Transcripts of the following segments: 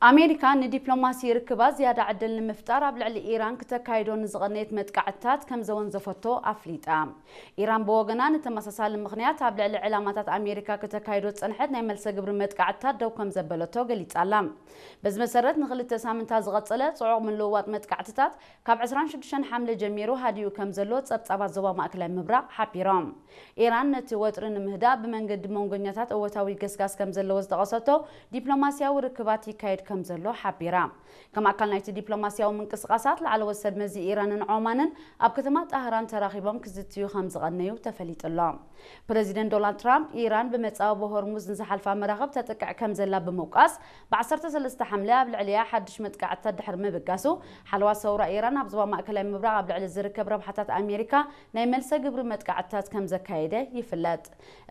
ኣሜሪካ ንዲፕሎማሲ ርክባት ዝያዳ ዕድል ንምፍጣር ኣብ ልዕሊ ኢራን ክተካይዶ ንዝቐነየት መጥቃዕትታት ከም ዘወንዘፈቶ ኣፍሊጣ። ኢራን ብወገና ንተመሳሳሊ ምኽንያት ኣብ ልዕሊ ዕላማታት ኣሜሪካ ክተካይዶ ዝጸንሐት ናይ መልሰ ግብሪ መጥቃዕትታት ደው ከም ዘበለቶ ገሊጻ ኣላ። በዚ መሰረት ንኽልተ ሳምንታት ዝቐጸለ ጽዑቕ ምልውዋጥ መጥቃዕትታት ካብ ዕስራን ሽዱሽተን ሓምለ ጀሚሩ ሃዲኡ ከም ዘሎ ጸብጻባት ዞባ ማእከላይ ምብራቕ ሓቢሮም። ኢራን ነቲ ወጥሪ ንምህዳእ ብመንገዲ መንጎኛታት እወታዊ ገስጋስ ከም ዘለዎ ዝጠቐሰቶ ዲፕሎማስያዊ ርክባት ይካየድ ከም ዘሎ ሓቢራ። ከም ኣካል ናይቲ ዲፕሎማስያዊ ምንቅስቓሳት ላዕለዎት ሰብ መዚ ኢራንን ዖማንን ኣብ ከተማ ጣህራን ተራኺቦም ክዝትዩ ከም ዝቐነዩ ተፈሊጡ ኣሎ። ፕረዚደንት ዶናልድ ትራምፕ ኢራን ብመጻወ ብሆርሙዝ ንዝሓልፋ መራኽብ ተጥቅዕ ከም ዘላ ብምውቃስ ብ ዓሰርተ ሰለስተ ሓምለ ኣብ ልዕሊያ ሓድሽ መጥቃዕትታት ድሕሪ ምብጋሱ ሓለዋ ሰውራ ኢራን ኣብ ዞባ ማእከላይ ምብራቕ ኣብ ልዕሊ ዝርከብ ረብሓታት ኣሜሪካ ናይ መልሰ ግብሪ መጥቃዕትታት ከም ዘካየደ ይፍለጥ።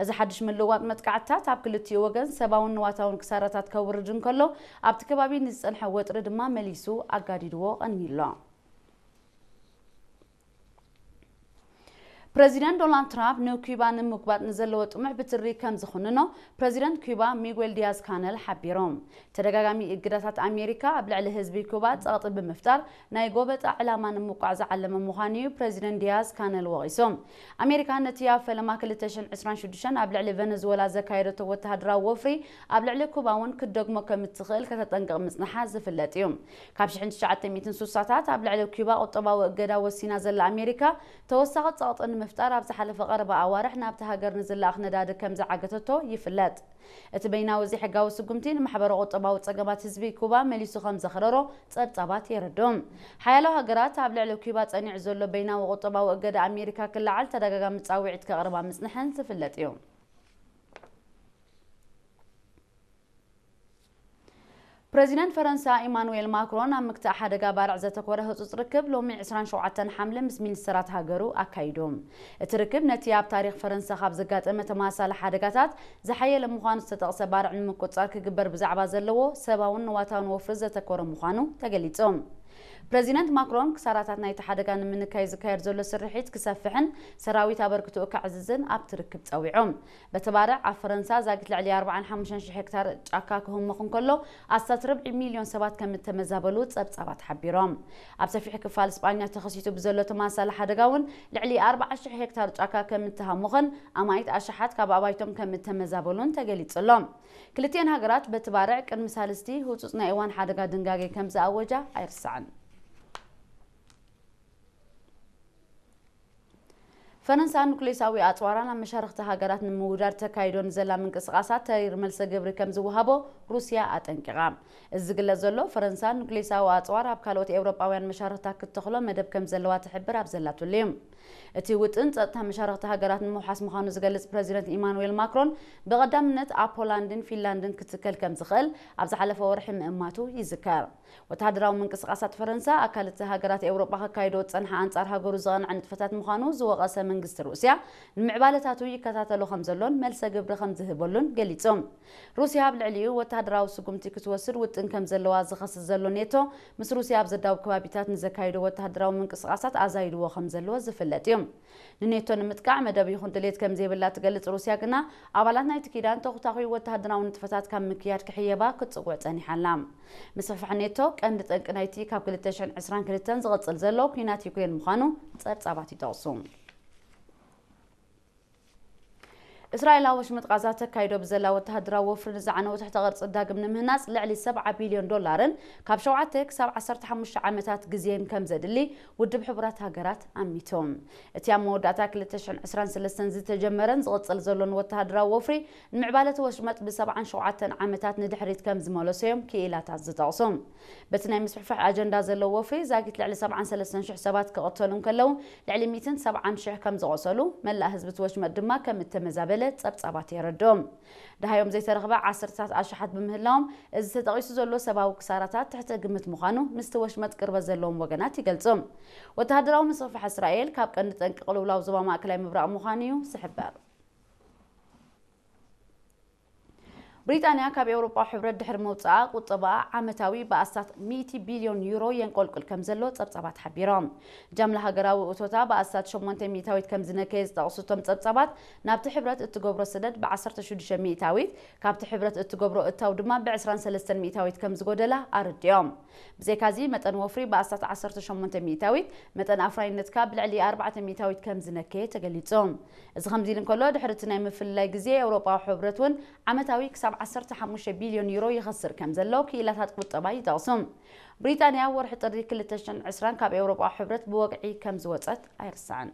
እዚ ሓድሽ ምልውዋጥ መጥቃዕትታት ኣብ ክልቲኡ ወገን ሰብኣውን ንዋታውን ክሳራታት ከውርድ እንከሎ ኣብቲ ከባቢ ንዝጸንሐ ወጥሪ ድማ መሊሱ ኣጋዲድዎ ቀኒሎ። ፕረዚደንት ዶናልድ ትራምፕ ንኩባ ንምጉባጥ ንዘለዎ ጥሙሕ ብትሪ ከም ዝኹንኖ ፕረዚደንት ኩባ ሚጉኤል ዲያዝ ካነል ሓቢሮም። ተደጋጋሚ እግዳታት ኣሜሪካ ኣብ ልዕሊ ህዝቢ ኩባ ጸቕጢ ብምፍጣር ናይ ጎበጣ ዕላማ ንምውቃዕ ዝዓለመ ምዃኑ እዩ ፕረዚደንት ዲያዝ ካነል ወቒሶም። ኣሜሪካ ነቲ ኣብ ፈለማ ክልተ ሽሕን ዕስራን ሽዱሽተን ኣብ ልዕሊ ቨነዙዌላ ዘካየደቶ ወተሃደራዊ ወፍሪ ኣብ ልዕሊ ኩባ እውን ክትደግሞ ከም እትኽእል ከተጠንቅቕ ምጽንሓ ዝፍለጥ እዩ። ካብ ሽሕን ትሽዓተ ሚእትን ስሳታት ኣብ ልዕሊ ኩባ ቁጠባዊ እገዳ ወሲና ዘላ ኣሜሪካ ተወሳኺ ጸቕጢ ንምፍጣር ኣብ ዝሓለፈ ቀረባ ኣዋርሕ ናብቲ ሃገር ንዝለኣኽ ነዳዲ ከም ዝዓገተቶ ይፍለጥ። እቲ በይናዊ ዘይሕጋዊ ስጉምቲ ንማሕበረ ቁጠባዊ ጸገማት ህዝቢ ኩባ መሊሱ ከም ዘኽረሮ ጸብጻባት የረድኡ። ሓያሎ ሃገራት ኣብ ልዕሊ ኩባ ጸኒዑ ዘሎ በይናዊ ቁጠባዊ እገዳ ኣሜሪካ ክለዓል ተደጋጋሚ ጻውዒት ከቕርባ ምጽንሐን ዝፍለጥ እዩ። ፕረዚደንት ፈረንሳ ኢማኑኤል ማክሮን ኣብ ምክታእ ሓደጋ ባርዕ ዘተኮረ ህጹጽ ርክብ ሎሚ ዕስራን ሸውዓተን ሓምለ ምስ ሚኒስተራት ሃገሩ ኣካይዱ። እቲ ርክብ ነቲ ኣብ ታሪኽ ፈረንሳ ካብ ዘጋጠመ ተመሳሳሊ ሓደጋታት ዝሓየለ ምዃኑ ዝተጠቕሰ ባርዕ ንምቁጽጻር ክግበር ብዛዕባ ዘለዎ ሰብኣውን ንዋታውን ወፍሪ ዘተኮረ ምዃኑ ተገሊጹ። ፕረዚደንት ማክሮን ክሳራታት ናይቲ ሓደጋ ንምንካይ ዝካየድ ዘሎ ስርሒት ክሰፍሕን ሰራዊት ኣበርክትኡ ከዕዝዝን ኣብቲ ርክብ ጸዊዑ። በቲ ባርዕ ኣብ ፈረንሳ ዛጊት ልዕሊ ኣርባዓን ሓሙሽተን ሽሕ ሄክታር ጫካ ክህሞኽ እንከሎ ኣስታት ርብዒ ሚልዮን ሰባት ከም እተመዛበሉ ጸብጻባት ሓቢሮም። ኣብ ሰፊሕ ክፋል ስጳኛ ተኸሲቱ ብዘሎ ተመሳሳሊ ሓደጋ እውን ልዕሊ ኣርባዓ ሽሕ ሄክታር ጫካ ከም እተሃሞኸን ኣማኢት ኣሽሓት ካብ ኣባይቶም ከም እተመዛበሉን ተገሊጹ ኣሎ። ክልቲኤን ሃገራት በቲ ባርዕ ቅድሚ ሳልስቲ ህጹጽ ናይ እዋን ሓደጋ ድንጋጌ ከም ዝኣወጃ ኣይርሳዕን። ፈረንሳ ኑክሌሳዊ ኣጽዋራ ናብ መሻርኽቲ ሃገራት ንምውዳድ ተካይዶ ንዘላ ምንቅስቓሳት ተሪር መልሰ ግብሪ ከም ዝወሃቦ ሩስያ ኣጠንቂቓ። እዚ ዝግለጽ ዘሎ ፈረንሳ ኑክሌሳዊ ኣጽዋር ኣብ ካልኦት ኤውሮጳውያን መሻርኽታ ክትተኽሎ መደብ ከም ዘለዋ ትሕብር ኣብ ዘላትሉ እዩ። እቲ ውጥን ጸጥታ መሻርኽቲ ሃገራት ንምውሓስ ምዃኑ ዝገልጽ ፕረዚደንት ኢማኑኤል ማክሮን ብቐዳምነት ኣብ ፖላንድን ፊንላንድን ክትከል ከም ዝኽእል ኣብ ዝሓለፈ ወርሒ ምእማቱ ይዝከር። ወተሃደራዊ ምንቅስቓሳት ፈረንሳ ኣካል እቲ ሃገራት ኤውሮጳ ከካይዶ ዝጸንሓ ኣንጻር ሃገሩ ዝቐንዐ ንጥፈታት ምዃኑ ዝወቐሰ መንግስቲ ሩስያ ንምዕባለታቱ ይከታተሎ ከም ዘሎን መልሰ ግብሪ ከም ዝህበሉን ገሊጹ። ሩስያ ኣብ ልዕሊኡ ወተሃደራዊ ስጉምቲ ክትወስድ ውጥን ከም ዘለዋ ዝኸስስ ዘሎ ኔቶ ምስ ሩስያ ኣብ ዘዳውብ ከባቢታት ንዘካይዶ ወተሃደራዊ ምንቅስቓሳት ኣዛይድዎ ከም ዘለዎ ዝፍለጥ እዩ። ንኔቶ ንምጥቃዕ መደብ ይኹን ድሌት ከም ዘይብላ ትገልጽ ሩስያ ግና ኣባላት ናይቲ ኪዳን ተኹታኺ ወተሃደራዊ ንጥፈታት ካብ ምክያድ ክሕየባ ክትጽውዕ ጸኒሓ ኣላ። ምስፍሕፋሕ ኔቶ ቀንዲ ጠንቂ ናይቲ ካብ ክልተ ሽሕን ዕስራን ክልተን ዝቕጽል ዘሎ ኲናት ዩክሬን ምዃኑ ጸብጻባት ይጠቕሱ። እስራኤል ኣብ ወሽመጥ ቃዛ ተካይዶ ብዘላ ወተሃደራዊ ወፍሪ ንዝዓነወ ትሕተ ቅርጺ ዳግም ንምህናጽ ልዕሊ ሰብዓ ቢልዮን ዶላርን ካብ ሸውዓተ ክሳብ ዓሰርተ ሓሙሽተ ዓመታት ግዜን ከም ዘድሊ ውድብ ሕቡራት ሃገራት ኣሚቱ። እቲ ኣብ መወዳእታ ክልተ ሽሕን ዕስራን ሰለስተን ዝተጀመረን ዝቕጽል ዘሎን ወተሃደራዊ ወፍሪ ንምዕባለ እቲ ወሽመጥ ብሰብዓን ሸውዓተን ዓመታት ንድሕሪት ከም ዝመለሶ እዮም ክኢላታት ዝጠቕሱ። በቲ ናይ ምስፍሕፋሕ ኣጀንዳ ዘለዎ ወፍሪ ዛጊት ልዕሊ ሰብዓን ሰለስተን ሽሕ ሰባት ክቕተሉ እንከለዉ ልዕሊ ሚእትን ሰብዓን ሽሕ ከም ዝቖሰሉ መላእ ህዝቢ እቲ ወሽመጥ ድማ ከም እተመዛበለ ጸብጻባት የረድኦም። ደሃዮም ዘይተረኽበ ዓሰርተታት ኣሽሓት ብምህላዎም እዚ ተጠቒሱ ዘሎ ሰብኣዊ ክሳራታት ትሕተ ግምት ምዃኑ ምስቲ ወሽመጥ ቅርበት ዘለዎም ወገናት ይገልጹ። ወተሃደራዊ ምስፍሕፋሕ እስራኤል ካብ ቀንዲ ጠንቂ ቅልውላው ዞባ ማእከላይ ምብራቕ ምዃኑ እዩ ዝሕበር። ብሪጣንያ ካብ ኤውሮጳዊ ሕብረት ድሕሪ ምውጻኣ፣ ቁጠባኣ ዓመታዊ ብኣስታት ሚእቲ ቢልዮን ዩሮ የንቆልቁል ከም ዘሎ ጸብጻባት ሓቢሮም። ጃምላ ሃገራዊ እቶታ ብኣስታት ሸሞንተ ሚእታዊት ከም ዝነከየ ዝጠቕሱ እቶም ጸብጻባት፣ ናብቲ ሕብረት እትገብሮ ሰደድ ብ16 ሚእታዊት፣ ካብቲ ሕብረት እትገብሮ እታው ድማ ብ23 ሚእታዊት ከም ዝጎደላ ኣረዲኦም። ብዘይካዚ፣ መጠን ወፍሪ ብኣስታት ዓሰርተ ሸሞንተ ሚእታዊት፣ መጠን ኣፍራይነትካ ብልዕሊ ኣርባዕተ ሚእታዊት ከም ዝነከየ ተገሊጹ። እዚ ከምዚ ኢሉ እንከሎ፣ ድሕሪ እቲ ናይ ምፍልላይ ግዜ፣ ኤውሮጳዊ ሕብረት እውን ዓመታዊ ክሳብ ዓሰርተ ሓሙሽተ ቢልዮን ዩሮ ይኸስር ከም ዘሎ ክኢላታት ቁጠባ ይጠቕሱ። ብሪጣንያ ወርሒ ጥሪ ክልተ ሽሕን ዕስራን ካብ ኤውሮጳዊ ሕብረት ብወግዒ ከም ዝወጸት ኣይርሳዕን።